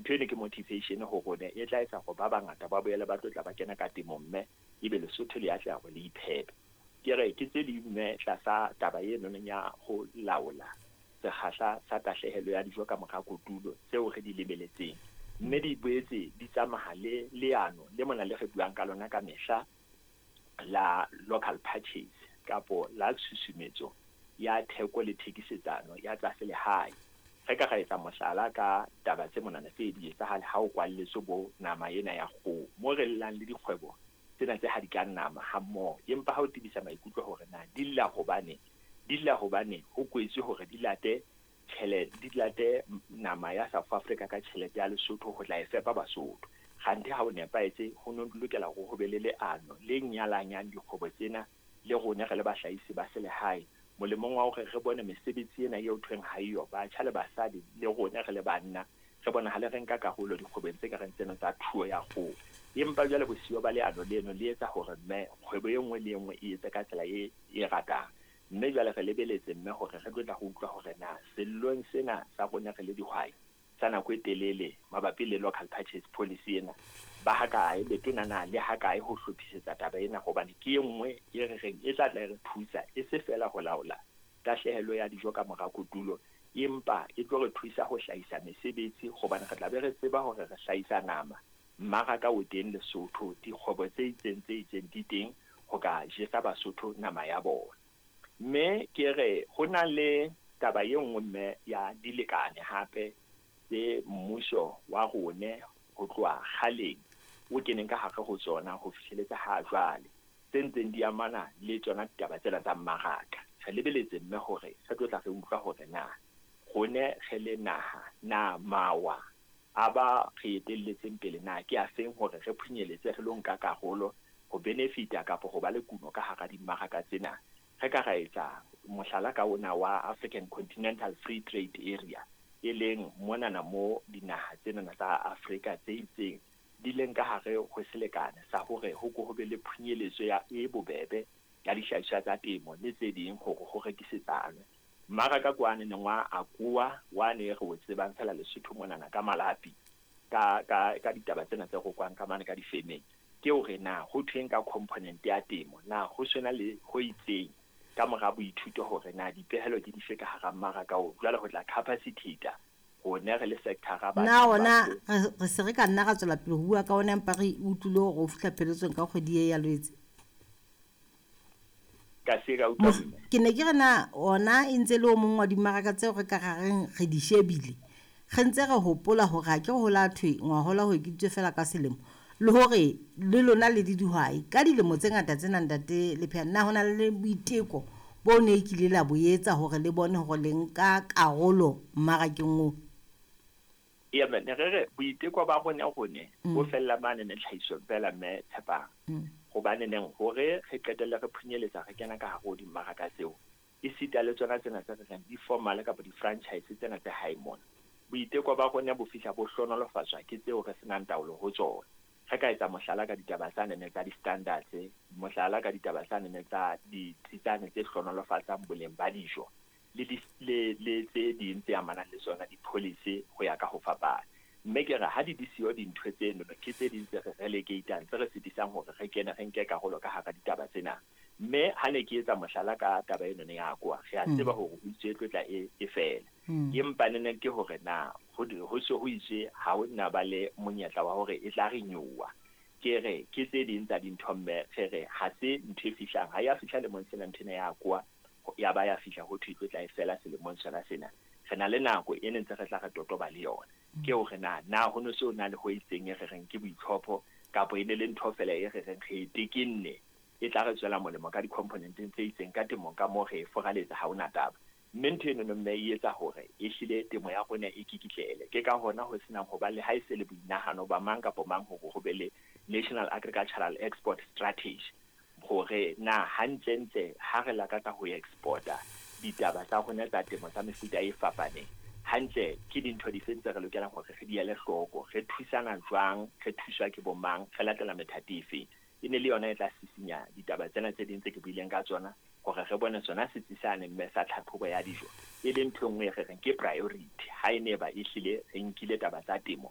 Ntho eno ke motivation ho rona e tla etsa hore ba bangata ba boele ba tlo tla ba kena ka temong, mme ebe Lesotho le atleha hore le iphepe. Ke re ke tse ding, mme, tlasa taba eno ya ho laola sekgahla sa tahlehelo ya dijo ka mora kotulo tseo re di lebeletseng, mme di boetse di tsamaya le leano le mona le re buang ka lona ka mehla la local purchase kapo la tshusumetso ya theko le thekisetsano ya tsa selehae. Re ka ra etsa mohlala ka taba tse monana tse di etsahale ha o kwalletswe bo nama ena ya kgoho, mo re llang le dikgwebo tsena tse hadikang nama hammoho, empa ha o tebisa maikutlo hore na di lla hobane di lla hobane ho kwetswe hore di late tjhelete, di late nama ya South Africa ka tjhelete ya Lesotho ho tla e fepa Basotho. Kganthe ha o nepahetse, ho no lokela hore ho be le leano le nyalanyang dikgwebo tsena le rona re le bahlahisi ba selehae, molemong wa hore re bone mesebetsi ena eo thweng ha eyo, batjha le basadi le rona re le banna re bonahale re nka karolo dikgwebong tse ka reng tsena tsa thuo ya kgoho. Empa jwale bosiyo ba leano leno le etsa hore, mme, kgwebo e nngwe le e nngwe e etse ka tsela e ratang. Mme jwale re lebeletse, mme, hore re tlo tla go utlwa hore na sellong sena sa rona re le dihwai sa nako e telele mabapi le local purchase policy ena, ba hakae letona na le hakae ho hlophisetsa taba ena, hobane ke e nngwe e re reng e tla tla e re thusa e se fela ho laola tahlehelo ya dijo ka mora kotulo, empa e tlo re thusa ho hlahisa mesebetsi, hobane re tla be re tseba hore re hlahisa nama, mmaraka o teng Lesotho, dikgwebo tse itseng tse itseng di teng ho ka jesa Basotho nama ya bona. Mme ke re ho na le taba e nngwe, mme, ya dilekane hape tse mmuso wa rone ho tloha kgaleng o keneng ka hare ho tsona ho fihleletsa ha jwale, tse ntseng di amana le tsona ditaba tsena tsa mmaraka. Re lebeletse, mme, hore re tlo tla re utlwa hore na rone re le naha na mawa a ba re etelletseng pele na ke a feng hore re phunyeletse re lo nka karolo ho benefita kapa ho ba le kuno ka hara dimmaraka tsena. Re ka ra etsa mohlala ka ona wa African Continental Free Trade Area, e leng monana mo dinaha tsenana tsa Afrika tse itseng di leng ka hare ho selekane sa hore ho ko ho be le phunyeletso ya e bobebe ya dihlahiswa tsa temo le tse ding hore ho rekisetsanwe. Mmaraka ke wane neng wa AGOA wane re o tsebang fela Lesotho monana ka malapi ka ditaba tsena tse rokwang ka mane ka difemeng, ke hore na ho thweng ka component ya temo, na ho sena le ho itseng ka mora boithuto hore na dipehelo ke dife ka hara mmaraka oo jwale ho tla capacitate rone re le sector-a. Na ona re se re ka nna ra tswela pele ho bua ka ona, empa re utlwile hore o fihla pheletsong ka kgwedi e ya Lwetse? Ka se ka utlwa, mme. Ke ne ke re na ona e ntse le o mong wa dimmaraka tseo re ka ra reng re di shebile, re ntse re hopola hore ha ke ho la thwe ngwahola ho ekeditswe fela ka selemo, le hore le lona le dihwai ka dilemo tse ngata tsena, ntate Lepheana, na ho na le boiteko bo ne e kile la bo etsa hore le bone hore le nka karolo mmarakeng oo? Ee, mme, ne re re boiteko ba rone bo fella mane ne tlhahisong fela, mme Tshepang, hobane neng hore re qetelle re phunyeletsa re kena ka hare ho dimmaraka tseo, esita le tsona tsena tse re reng di-formal kapa di-franchise tsena tse hae mona, boiteko ba rona bo fihla bo hlonolofatswa ke tseo re senang taolo ho tsona. Re ka etsa mohlala ka ditaba tsa nene tsa di-standards, mohlala ka ditaba tsa nene tsa ditsi tsane tse hlonolofatsang boleng ba dijo le tse ding tse amanang le tsona di-policy ho ya ka ho fapana. Mme ke re ha di siyo dintho tseno, ke tse ding tse re relegatang, tse re sitisang hore re kene re nke karolo ka hara ditaba tsena. Mme ha ne ke etsa mohlala ka taba eno ne ya AGOA, re a tseba hore ho itswe e tlo tla e fela, empa nene ke hore na ho se ho itswe ha ho na ba le monyetla wa hore e tla renewa. Ke re ke tse ding tsa dintho, mme re re ha se ntho e fihlang, ha ya fihla lemong sena ntho ena ya AGOA, ya ba ya fihla ho thwe e tlo tla e fela selemong sona sena. Re na le nako e ne ntse re tla re totoba le yona, ke hore na ho no se o na le ho itseng e re reng ke boitlhopho, kapa e ne le ntho fela e re reng re e tekenne e tla re tswela molemo ka di-componenteng tse itseng ka temong ka moo re e foraletsa, ha hona taba. Mme ntho eno mme e etsa hore ehlile temo ya rona e kikitlele. Ke ka hona ho senang ho ba le ha e se le boinahano ba mang kapa mang hore ho be le National Agricultural Export Strategy, hore na hantlentle ha re lakatsa ho exporta ditaba tsa rona tsa temo tsa mefuta e fapaneng, hantle ke dintho dife tse re lokelang hore re di ele hloko, re thusana jwang, re thuswa ke bo mang, re latela methati efeng. E ne le yona e tla sisinya ditaba tsena tse ding tse ke buileng ka tsona, hore re bone sona setsi sane, mme, sa tlhatlhobo ya dijo e le ntho e nngwe e re reng ke priority ha e ne ba ehlile re nkile taba tsa temo.